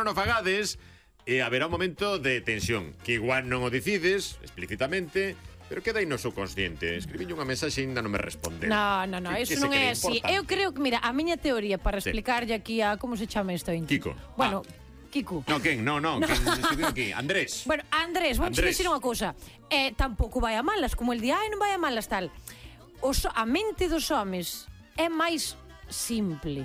non o fagades, e haberá un momento de tensión, que igual non o decides explícitamente, pero queda aí no subconsciente. Escribiñe unha mensaxe e ainda non me responde. No, eso non é así. Eu creo que, mira, a miña teoría para explicarlle aquí a... Como se chama isto? Kiko. Bueno, Kiko. No, quen? No, quen escribiu aquí? Andrés. Bueno, Andrés, vamos a dicir unha cousa. Tampouco vai a malas, como el di, non vai a malas tal. A mente dos homes é máis simple.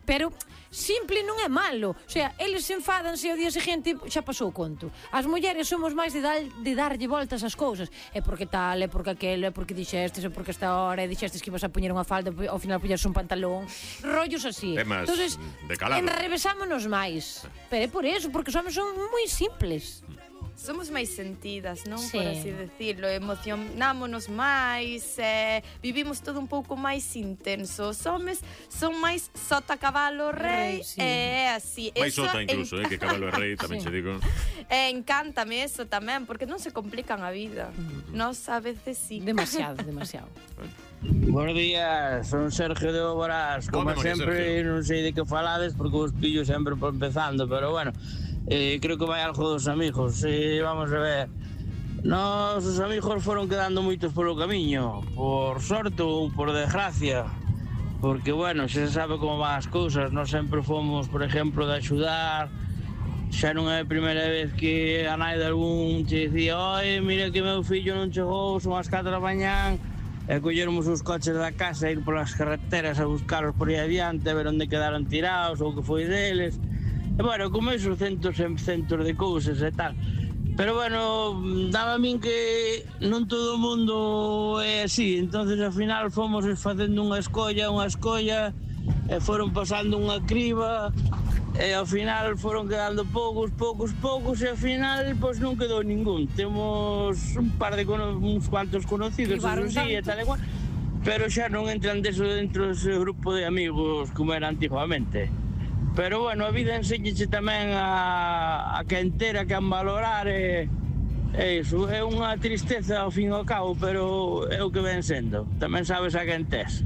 Pero simple non é malo. O sea, eles se enfadanse ao día seguinte, xa pasou o conto. As mulleres somos máis de darlle voltas ás cousas. É porque tal, é porque aquelo, é porque dixestes, é porque esta hora, dixestes que ibas a poñer unha falda, ao final poñerse un pantalón. Rollos así. Temas entonces, de calado. Enrevesámonos máis. Pero é por eso, porque os homens son moi simples. Somos máis sentidas, non? Sí. Por así decirlo, emocionámonos máis, vivimos todo un pouco máis intenso. Os homes son máis sota, cabalo, rei, sí. Así. Máis sota incluso, que cabalo e rei, tamén se digo. Encántame eso tamén, porque non se complican a vida. Nos a veces sí. Demasiado. Buenos días, son Sergio de Oborás. Como sempre, non sei de que falades, porque os pillo sempre por empezando, pero bueno, creo que vai algo dos amigos. Vamos a ver, os amigos foron quedando moitos polo camiño, por sorte ou por desgracia, porque bueno, xa se sabe como van as cousas. Nós sempre fomos, por exemplo, de axudar. Xa non é a primeira vez que a nai de algún te dicía: oi, mira que meu fillo non chegou, son as 4 da mañán, e collermos os coches da casa e ir polas carreteras a buscarlos por aí adiante, a ver onde quedaron tirados ou que foi deles. E bueno, como esos centos de cousas e tal. Pero bueno, daba a min que non todo o mundo é así. Entonces ao final fomos facendo unha escolla, e foron pasando unha criba, e ao final foron quedando poucos, e ao final pois non quedou ningún. Temos uns cuantos conocidos, eso sí, e tal e cual, pero xa non entran dentro dese grupo de amigos como era antigamente. Pero bueno, a vida enséñache tamén a que entera, que a valorar, e iso é unha tristeza ao fin e ao cabo, pero é o que ven sendo. Tamén sabes a quen tes.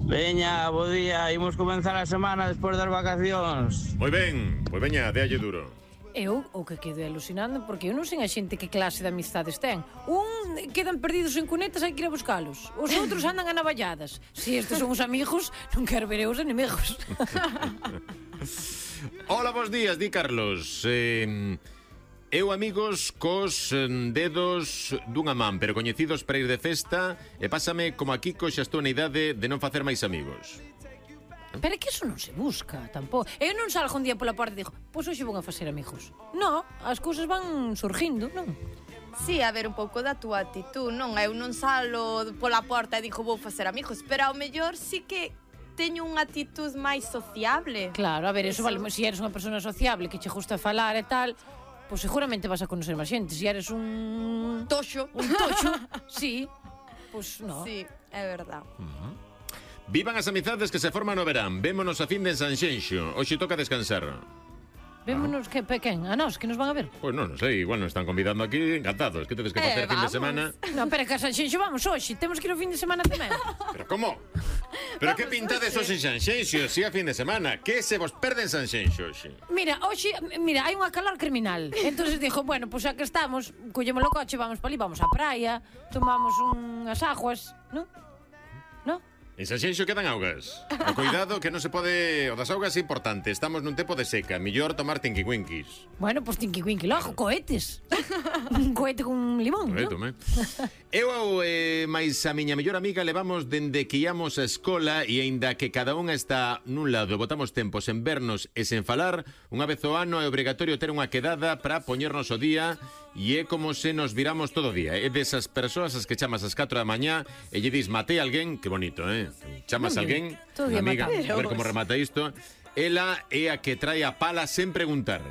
Veña, bo día, imos comenzar a semana despois das vacacións. Moi ben, pois veña, déalle duro. Eu o que quedo alucinando, porque eu non sei a xente que clase de amistades ten. Quedan perdidos en cunetas, hai que ir a buscalos. Os outros andan a navalladas. Se estes son os amigos, non quero ver os inimigos. Hola, bons días, di Carlos. Eu amigos cos dedos dunha man, pero coñecidos para ir de festa, e pásame como a Kiko, xa estou na idade de non facer máis amigos. Pero é que eso non se busca, tampouco. Eu non salgo un día pola porta e digo: pois hoxe vou a facer amigos. Non, as cousas van surgindo, non? Sí, a ver, un pouco da túa actitud, non? Eu non salo pola porta e digo vou facer amigos, pero ao mellor sí que teño unha actitud máis sociable. Claro, a ver, eso vale, se eres unha persona sociable que che gusta falar e tal, pois seguramente vas a conocer máis xente. Se eres un toxo, sí, pois non. Sí, é verdad. Vivan as amizades que se forman no verán. Vémonos a fin de Sanxenxo. Hoxe toca descansar. Vémonos, quen? A nós, que nos van a ver? Pois non sei, igual nos están convidando aquí, encantados. Que tedes que facer fin de semana? Non, pero que a Sanxenxo vamos hoxe. Temos que ir o fin de semana tamén. Pero como? Pero que pintades hoxe en Sanxenxo, si a fin de semana? Que se vos perde en Sanxenxo hoxe? Mira, hai unha calor criminal. Entonces dixo, bueno, pois xa que estamos, collemos o coche, vamos para ali, vamos á praia, tomamos unhas aguas, non? Non? En Sanxenxo quedan augas. O cuidado que non se pode... O das augas é importante. Estamos nun tempo de seca. Millor tomar tinquiwinkis. Bueno, pois tinquiwinki logo, cohetes. Un cohete con limón, non? Tome. Eu máis a miña mellor amiga levamos dende que íamos á escola, e aínda que cada unha está nun lado, botamos tempos en vernos e sen falar, unha vez ao ano é obrigatorio ter unha quedada para poñernos o día, e é como se nos viramos todo o día. É desas persoas as que chamas ás 4 da mañá e lle dis matei a alguén, que bonito, chamas a alguén, unha amiga, a ver como remata isto. Ela é a que trae a pala sen preguntar.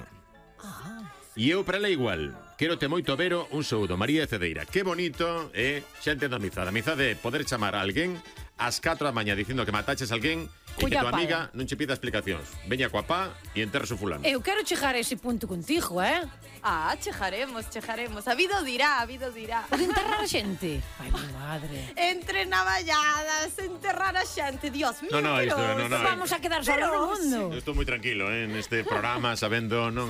E eu para ela igual. Quérote moito, Vero, un saúdo, María de Cedeira. Que bonito, xa entendo a amizade. A amizade é poder chamar a alguén ás 4 da mañá dicindo que mataches a alguén e que tua amiga non che pida explicacións. Veña coa pá e enterra o fulano. Eu quero chegar a ese punto contigo, Chejaremos. A vida o dirá, O de enterrar a xente. Ai, mi madre. Entre navalladas, enterrar a xente, Dios mío. No, isto, no. Vamos a quedar solos no mundo. Eu estou moi tranquilo, neste programa, sabendo, non?